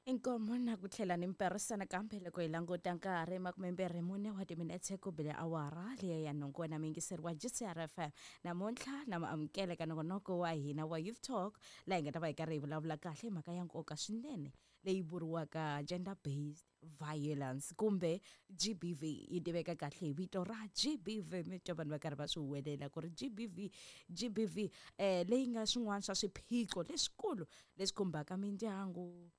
Inkomu na ku tlhela ni mperisana kambe loko hi languta nkarhi 24 wa timinetse ku bile awara liya ya nhungu na muyingiseri wa GCR FM. Namuntlha na maamukela ka nongonoko wa hina wa Youth Talk, laha hi nga ta va hi karhi hi vulavula kahle hi mhaka ya nkoka swinene leyi vuriwaka gender based violence kumbe GBV. Yi tiveka kahle hi vito ra GBV, mi twa vanhu va karhi va swi huwelela ku ri GBV, GBV, leyi nga swin'wana swa swiphiqo leswikulu leswi khumbaka mindyangu,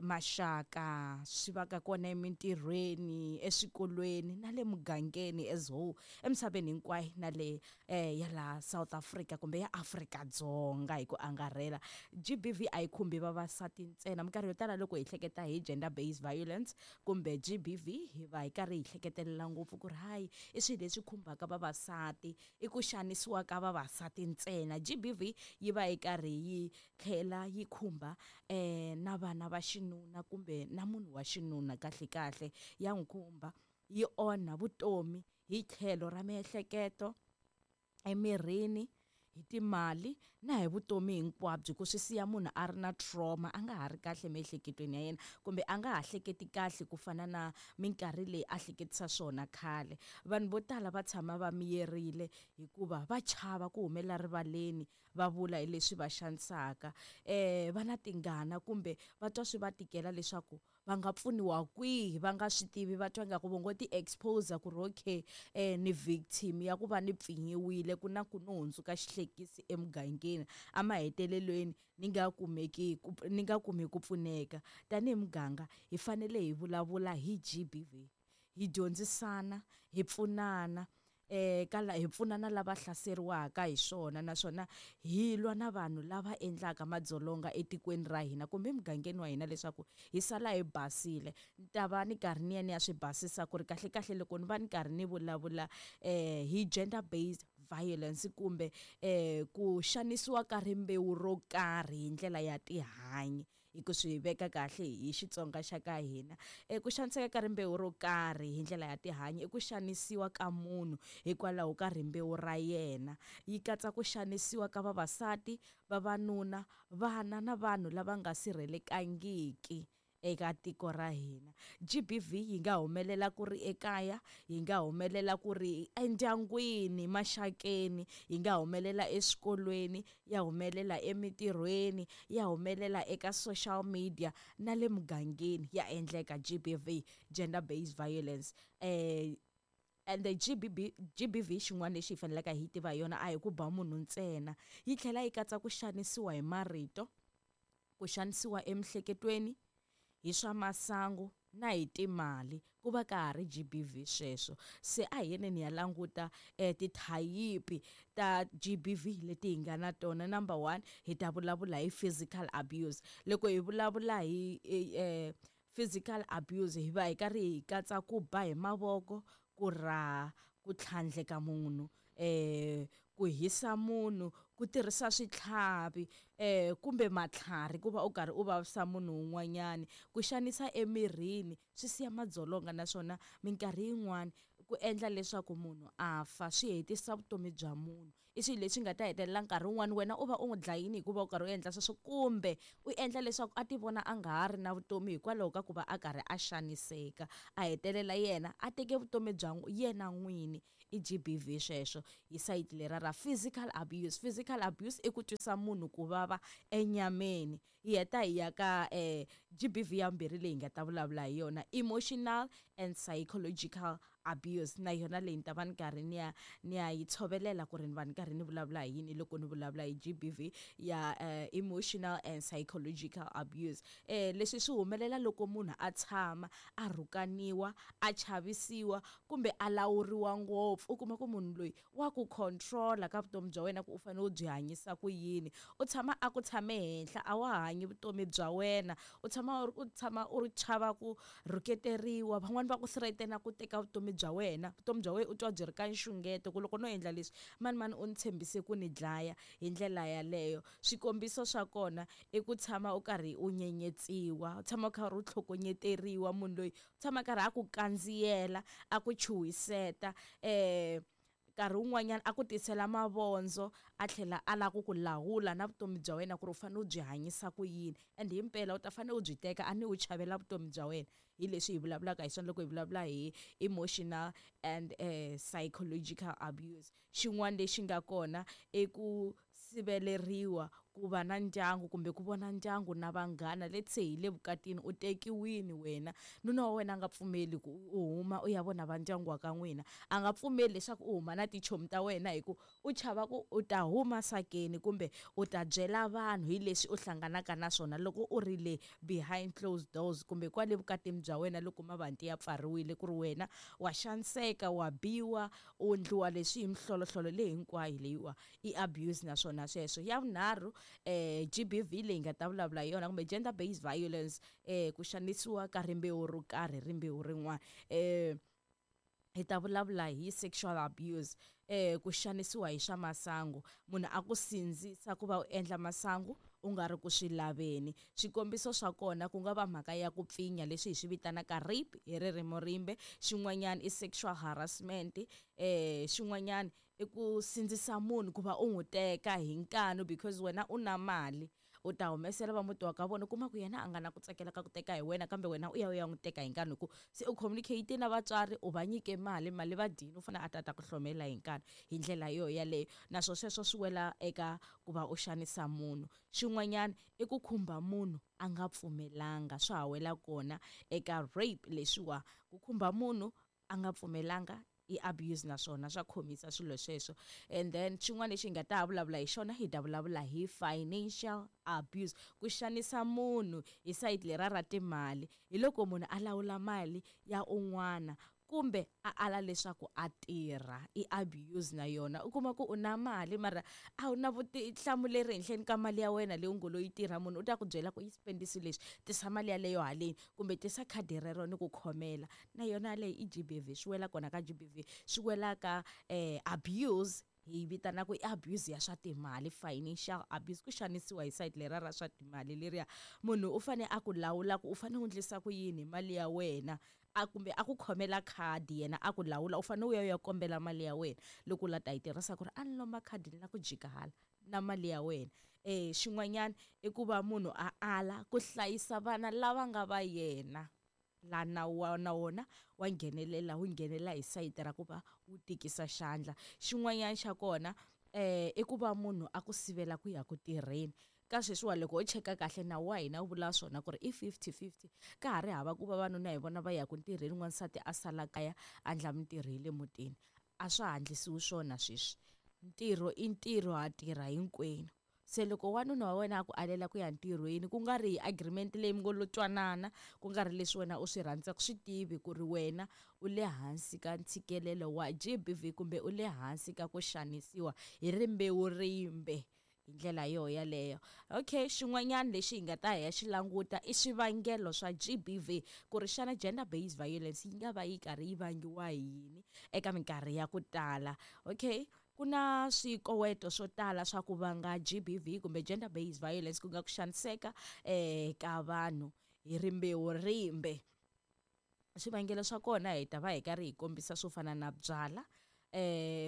maxaka, swi va ka kona emintirhweni, eswikolweni na le mugangeni as whole, emisaveni hinkwayo na le ya laha South Africa kumbe ya Afrika-Dzonga hi ku angarhela. GBV a yi khumbi vavasati ntsena. Minkarhi yo tala loko hi hleketa hi gender based violence kumbe GBV, hi va hi karhi hi hleketelela ngopfu ku ri hayi, i swilo leswi khumbaka vavasati, i ku xanisiwa ka vavasati ntsena. GBV yi va yi karhi yi tlhela yi khumba na vana va xinuna kumbe na munhu wa xinuna. Kahle kahle ya n'wi khumba, yi onha vutomi hi tlhelo ra miehleketo, emirini, hi timali na hi vutomi hinkwabyo, ku swi siya munhu a ri na trauma, a nga ha ri kahle emiehleketweni ya yena kumbe a nga ha hleketi kahle ku fana na minkarhi leyi a hleketisa swona khale. Vanhu vo tala va tshama va miyerile hikuva va chava ku humelela rivaleni va vula hi leswi va xanisaka, va na tingana kumbe va twa swi va tikela leswaku va nga pfuniwa kwihi, va nga swi tivi, va twa ingaku vo ngo ti-expose ku ri okay, ni victim ya ku va ni pfinyiwile, ku na ku no hundzuka xihlekisi emugangeni, emahetelelweni ni nga kumeki ku, ni nga kumi ku pfuneka. Tanihi muganga hi fanele hi vulavula hi GBV, hi dyondzisana, hi pfunana, ka la hi pfunana lava hlaseriwaka hi swona, naswona hi lwa na vanhu lava endlaka madzolonga etikweni ra hina kumbe emugangeni wa hina leswaku hi sala hi basile. Ni ta va ni karhi ni ya ni ya swi basisa ku ri kahle kahle loko ni va ni karhi ni vulavula hi gender based violence kumbe ku xanisiwa ka rimbewu ro karhi hi ndlela ya tihanyi, hi ku swi veka kahle hi Xitsonga xa ka hina, ku xaniseka ka rimbewu ro karhi hi ndlela ya tihanyi i ku xanisiwa ka munhu hikwalaho ka rimbewu ra yena. Yi katsa ku xanisiwa ka vavasati, vavanuna, vana na vanhu lava nga sirhelekangiki eka tiko ra hina. GBV yi nga humelela ku ri ekaya, yi nga humelela ku ri endyangwini, maxakeni, yi nga humelela eswikolweni, ya humelela emitirhweni, ya humelela eka social media na le mugangeni. Ya endleka GBV, gender based violence. And the GBB, GBV xin'wana lexi hi faneleke hi tiva hi yona a hi ku ba munhu ntsena, yi tlhela yi katsa ku xanisiwa hi marito, ku xanisiwa emiehleketweni, hi swa masangu na hi timali, ku va ka ha ri GBV sweswo. Se a hi yeneni hi ya languta tithayipi ta GBV leti hi nga na tona. Number 1, hi ta vulavula hi physical abuse. Loko hi vulavula hi physical abuse, hi va hi karhi hi katsa ku ba hi mavoko, ku raha, ku tlhandleka munhu, ku hisa munhu, ku tirhisa switlhavi, kumbe matlhari ku va u karhi u vavisa munhu un'wanyani, ku xanisa emirini, swi siya madzolonga naswona minkarhi yin'wani ku endla leswaku munhu a fa, swi hetisa vutomi bya munhu. I swilo leswi nga ta hetelela nkarhi wun'wani wena u va u n'wi dlayini hikuva u karhi u endla sweswo, kumbe u endla leswaku a ti vona a nga ha ri na vutomi hikwalaho ka ku va a karhi a xaniseka, a hetelela yena a teke vutomi bya yena n'wini. I GBV sweswo hi sayiti lera ra physical abuse. Physical abuse i ku twisa munhu ku vava enyameni. Hi heta hi ya ka GBV ya vumbirhi leyi hi nga ta vulavula hi yona, emotional and psychological abuse. Na yona leyi ni ta va ni karhi ni ya ni ya yi tshovelela ku ri ni va ni karhi ni vulavula hi yini loko ni vulavula hi GBV ya emotional and psychological abuse. Leswi swi humelela loko munhu a tshama a rhukaniwa, a chavisiwa kumbe a lawuriwa ngopfu. U kuma ku munhu loyi wa ku control-a ka vutomi bya wena ku u fanele u byi hanyisa ku yini, u tshama a ku tshame henhla, a wa ha hanyi vutomi bya wena, u tshama u tshama u ri chava ku rhuketeriwa, van'wani va ku threaten-a ku teka vutomi bya wena, vutomi bya wena u twa byi ri ka nxungeto ku loko no endla leswi mani mani u ni tshembise ku ni dlaya. Hi ndlela yaleyo swikombiso swa kona i ku tshama u karhi u nyenyetsiwa, u tshama u karhi u tlhokonyeteriwa, munhu loyi u tshama karhi a ku kandziyela, a ku chuhiseta. Nkarhi wun'wanyana a ku tisela mavondzo, a tlhela a lava ku ku lawula na vutomi bya wena ku ri u fanele u byi hanyisa ku yini. And himpela u ta fanele u byi teka a ni u chavela vutomi bya wena. Hi leswi hi vulavulaka hi swona loko hi vulavula hi emotional and psychological abuse. Xin'wana lexi nga kona i ku siveleriwa ku va na ndyangu kumbe ku vona ndyangu na vanghana. Let's say hi le vukatini, u tekiwini wena, nuna wa wena a nga pfumeli ku u huma u ya vona va ndyangu wa ka n'wina, a nga pfumeli leswaku u huma na tichomi ta wena hi ku u chava ku u ta huma sakeni kumbe u ta byela vanhu hi leswi u hlanganaka na swona loko u ri le behind closed doors kumbe kwale vukatini bya wena loko mavanti ya pfariwile, ku ri wena wa xaniseka, wa biwa, u ndliwa leswi hi mihlolohlolo leyi hinkwayo leyiwa i abuse naswona sweswo. Ya vunharhu, GBV leyi nga ta vulavula hi yona kumbe gender based violence, ku xanisiwa ka rimbewu ro karhi, rimbewu rin'wana. Hi ta vulavula hi sexual abuse, ku xanisiwa hi swa masangu, munhu a ku sindzisa ku va u endla masangu u nga ri ku swi laveni. Swikombiso swa kona ku nga va mhaka ya ku pfinya, leswi hi swi vitanaka rape hi ririmi rimbe. Xin'wanyana i sexual harassment. Xin'wanyana i ku sindzisa munhu ku va u n'wi teka hi nkanu because wena u na mali, u ta humesela va muti wa ka vona. U kuma ku yena a nga na ku tsakela ka ku teka hi wena, kambe wena u ya u ya n'wi teka hi nkanu hi ku se u communicate na vatswari, u va nyike mali, mali va dyini, u fanele a ta ta ku hlomela hi nkanu hi ndlela yo yaleyo. Naswo sweswo swi wela eka ku va u xanisa munhu. Xin'wanyana i ku khumba munhu a nga pfumelanga, swa ha wela kona eka rape leswiwa, ku khumba munhu a nga pfumelanga i abuse naswona swa khomisa swilo sweswo. And then xin'wana lexi hi nga ta vulavula hi xona, hi ta vulavula hi financial abuse, ku xanisa munhu hi sayiti lera ra timali. Hi loko munhu a lawula mali ya un'wana kumbe a ala leswaku a tirha, i abuse na yona. U kuma ku u na mali mara a wu na vutihlamuleri henhleni ka mali ya wena leyi u ngo lo yi tirha. Munhu u ta ku byela ku yi spendisi leswi, tisa mali yaleyo haleni kumbe tisa khadi rero ni ku khomela. Na yona yaleyo i GBV, swi wela kona ka GBV, swi wela ka abuse hi vitanaka i abuse ya swa timali, financial abuse, ku xanisiwa hi sayiti lera ra swa timali leriya. Munhu u fane a ku lawula ku u fane u endlisa ku yini hi mali ya wena, a kumbe a ku khomela khadi yena a ku lawula, u fane u ya u ya kombela mali ya wena loko u la ta yi tirhisa, ku ri a ni lomba khadi ni la ku jika hala na mali ya wena. Xin'wanyana i ku va munhu a ala ku hlayisa vana lava nga va yena, la nawu wa na wona wa nghenelela, wu nghenelela hi sayiti ra ku va wu tikisa xandla. Xin'wanyana xa kona i ku va munhu a ku sivela ku ya ku tirheni. Ka sweswiwa loko ho cheka kahle nawu wa hina wu vula swona ku ri i 50-50, ka ha ri hava ku vavanuna hi vona va ya ku ntirheni, n'wansati a sala kaya a endla mintirho ya le mutini. A swa ha endlisiwi swona sweswi, ntirho i ntirho, ha tirha hinkwenu. Se loko wanuna wa wena a ku alela ku ya ntirhweni, ku nga ri hi agreement leyi mi ngo lo twanana, ku nga ri leswi wena u swi rhandzaka, swi tivi ku ri wena u le hansi ka ntshikelelo wa GBV kumbe u le hansi ka ku xanisiwa hi rimbewu rimbe hi ndlela yo yaleyo. Okay, xin'wanyana lexi hi nga ta hi ya xi languta i swivangelo swa GBV, ku ri xana gender based violence yi nga va yi karhi yi vangiwa hi yini eka minkarhi ya ku tala. Okay, ku na swikoweto swo tala swa ku vanga GBV kumbe gender based violence, ku nga ku xaniseka ka vanhu hi rimbewu rimbe. Swivangelo swa kona hi ta va hi karhi hi kombisa swo fana na byala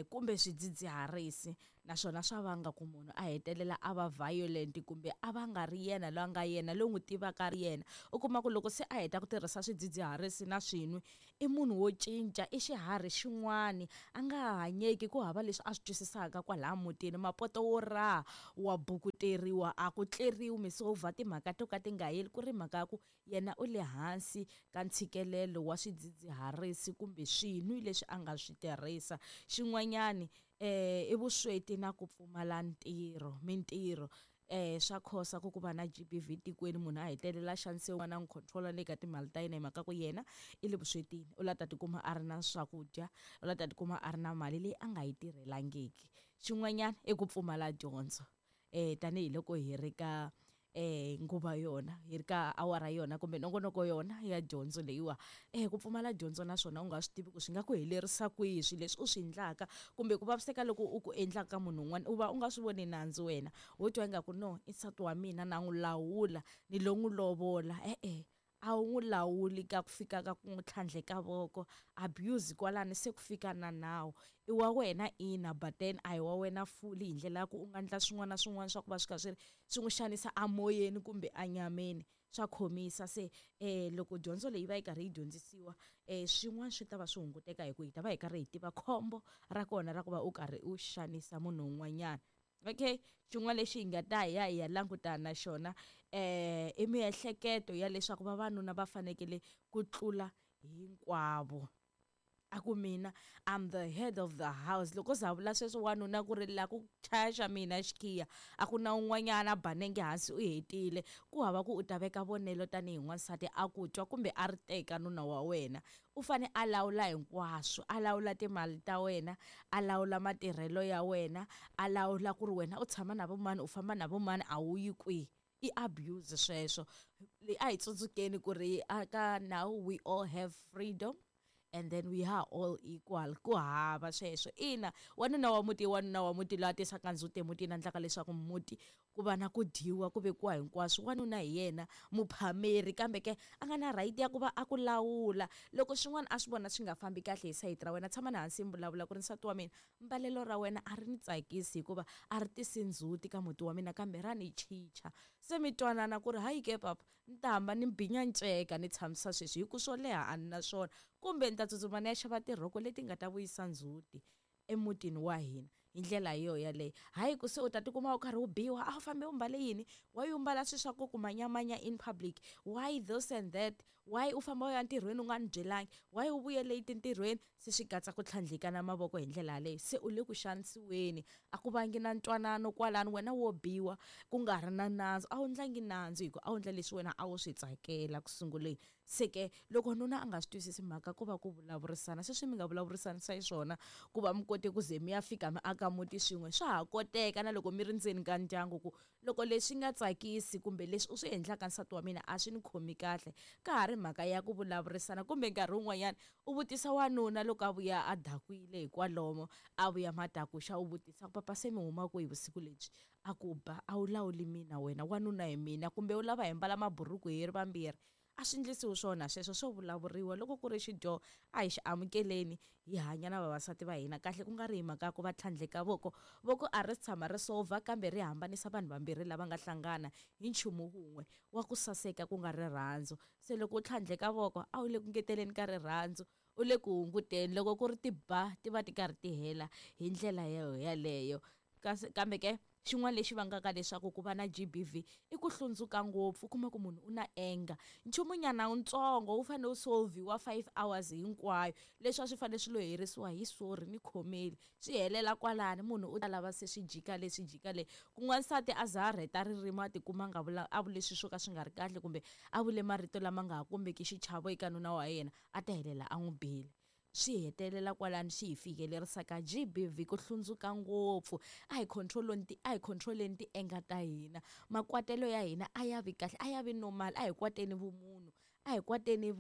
kumbe swidzidziharisi, naswona swa vanga ku munhu a hetelela a va violent kumbe a va nga ri yena loyi a nga yena, loyi n'wi tivaka ri yena. U kuma ku loko se a heta ku tirhisa swidzidziharisi na swinwe, i munhu wo cinca, i xiharhi xin'wani, a nga ha hanyeki, ku hava leswi a swi twisisaka kwalaya mutini. Mapoto wo raha wa bukuteriwa, a ku tleriwi, mi sovha timhaka to ka ti nga heli, ku ri mhaka ya ku yena u le hansi ka ntshikelelo wa swidzidziharisi kumbe swinwi leswi a nga swi tirhisa. Xin'wanyani i vusweti na ku pfumala ntirho, mintirho. Swa khosa ku ku va na GBV tikweni, munhu a hetelela xanisiwa na n'wi control le ka timali ta yena hi mhaka ku yena i le vuswetini, u la ta tikuma a ri na swakudya, u la ta tikuma a ri na mali leyi a nga yi tirhelangiki. Xin'wanyana i ku pfumala dyondzo, tanihiloko hi ri ka nguva yona, hi ri ka awara yona kumbe nongonoko yona ya dyondzo leyiwa. Ku pfumala dyondzo naswona u nga swi tivi ku swi nga ku helerisa kwihi swilo leswi u swi endlaka kumbe ku vaviseka loko u ku endlaka ka munhu un'wana, u va u nga swi voni nandzu wena, wo twa ingaku no i nsati wa mina na n'wi lawula, ni lo n'wi lovola. E-e, A wu n'wi lawuli ka ku fika ka ku n'wi tlhandleka voko, abuse kwalano se ku fika na nawu. I wa wena ina, but then a hi wa wena fully hi ndlela ya ku u nga endla swin'wana na swin'wana swa ku va swi kha swi ri swi n'wi xanisa amoyeni kumbe anyameni, swa khomisa. Se loko dyondzo leyi va yi karhi yi dyondzisiwa swin'wana swi ta va swi hunguteka hi ku hi ta va hi karhi hi tiva khombo ra kona ra ku va u karhi u xanisa munhu un'wanyana. Okay, xin'wana lexi hi nga ta hi ya hi ya langutana na xona i miehleketo ya leswaku vavanuna va fanekele ku tlula hinkwavo. A ku mina I'm the head of the house, loko za vula sweswo wanuna ku ri la ku chaya xa mina xikhiya, a ku na un'wanyana a ba nenge hansi u hetile. Ku hava ku u ta veka vonelo tanihi n'wansati a ku twa kumbe a ri teka nuna wa wena. U fane a lawula hinkwaswo, a lawula timali ta wena, a lawula matirhelo ya wena, a lawula ku ri wena u tshama na vo mani, u famba na vo mani, a wu yi kwihi. I abuse sweswo. A hi tsundzukeni ku ri aka now we all have freedom and then we are all equal. Ku hava sweswo. Ina, wanuna wa muti i wanuna wa muti loyi a tisaka ndzhuti emutini, a endlaka leswaku muti ku va na ku dyiwa, ku vekiwa hinkwaswo. Wanuna hi yena muphameri, kambe ke a nga na right ya ku va a ku lawula. Loko swin'wana a swi vona swi nga fambi kahle hi sayiti ra wena, tshama na hansi mi vulavula ku ri nsati wa mina, mbalelo ra wena a ri ni tsakisi hikuva a ri tisi ndzhuti ka muti wa mina, kambe ra ni chicha. Se mi twanana ku ri hayi ke papa, ni ta hamba ni binya nceka ni tshamisa sweswi hi ku swo leha a ni na swona, kumbe ni ta tsutsuma ni ya xava tirhoko leti nga ta vuyisa ndzhuti emutini wa hina. Hi ndlela yo yaleyo. Hayi ku se u ta tikuma u karhi u biwa, a wu fambe u mbale yini, why u mbala swilo swa ku ku manyamanya in public, why this and that, why u famba u ya ntirhweni u nga ni byelangi, why u vuye late ntirhweni. Se swi katsa ku tlhandlekana mavoko hi ndlela yaleyo, se u le ku xanisiweni, a ku vangi na ntwanano kwalano, wena wo biwa ku nga ri na nandzu. A wu ndlangi nandzu hi ku a wu ndla leswi wena a wu swi tsakela ku sunguleni. Se ke loko nuna a nga swi twisisi mhaka, ku va ku vulavurisana sweswi mi nga vulavurisanisa xiswona ku va mi kote ku ze mi ya fika mi aka muti swin'we, swa ha koteka na loko mi ri ndzeni ka ndyangu ku loko leswi nga tsakisi kumbe leswi u swi endlaka nsati wa mina a swi ni khomi kahle, ka ha ri mhaka ya ku vulavurisana. Kumbe nkarhi wun'wanyana u vutisa wanuna loko a vuya a dakwile hikwalomo, a vuya madakuxa, u vutisa ku papa se mi huma kwihi vusiku lebyi, a ku ba a wu lawuli mina wena, wanuna hi mina, kumbe u lava hi mbala maburuku hi ri vambirhi. A swi endlisiwi swona sweswo, swo vulavuriwa. Loko ku ri xidyoho a hi xi amukeleni, hi hanya na vavasati va hina kahle, ku nga ri hi mhaka ya ku va tlhandleka voko. Voko a ri tshama ri solver, kambe ri hambanisa vanhu vambirhi lava nga hlangana hi nchumu wun'we wa ku saseka, ku nga rirhandzu. Se loko u tlhandleka voko a wu le ku ngeteleni ka rirhandzu, u le ku hunguteni. Loko ku ri tiba ti va ti karhi ti hela hi ndlela yaleyo. Kambe ke xin'wana lexi vangaka leswaku ku va na GBV i ku hlundzuka ngopfu. U kuma ku munhu u na anger, nchumunyana wutsongo wu fanele wu solviwa 5 hours hinkwayo, leswi a swi fanele swi lo herisiwa hi sorry ni khomeli, swi helela kwalani. Munhu u ta lava se swi jika le, swi jika le. Ku n'wansati a za a rheta ririmi a tikuma a nga vula, a vule swilo swo ka swi nga ri kahle, kumbe a vule marito lama nga ha kombeki xichavo eka nuna wa yena, a ta helela a n'wi bile. Swi hetelela kwalano, swi hi fikelerisa ka GBV, ku hlundzuka ngopfu. A hi controleni ti, a hi controleni ti-anger ta hina, makwatelo ya hina a ya vi kahle, a ya vi normal. A hi kwateni vumunhu, a hi kwateni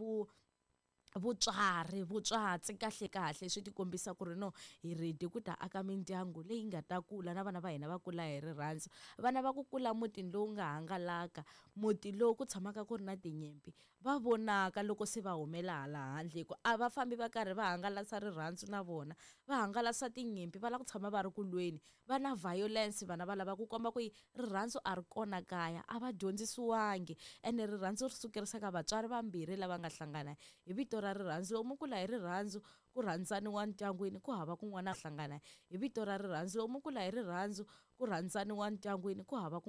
vutswari, vutswatsi kahle kahle. Swi ti kombisa ku ri no hi ready ku ta aka mindyangu leyi nga ta kula na vana va hina va kula hi rirhandzu. Vana va ku kula mutini lowu nga hangalaka, muti lowu ku tshamaka ku ri na tinyimpi, va vonaka loko se va humela hala handle, hi ku a va fambi va karhi va hangalasa rirhandzu na vona, va hangalasa tinyimpi, va lava ku tshama va ri ku lweni, va na violence. Vana va lava ku komba ku rirhandzu a ri kona kaya, a va dyondzisiwangi. Ene rirhandzu ri sukerisa ka vatswari vambirhi lava nga hlangana hi vito ra rirhandzu. Loko mi kula hi rirhandzu, ku rhandzaniwa ndyangwini, ku hava kun'wana hlangana hi vito ra rirhandzu. Loko mi kula hi rirhandzu, ku rhandzaniwa ndyangwini, ku hava ku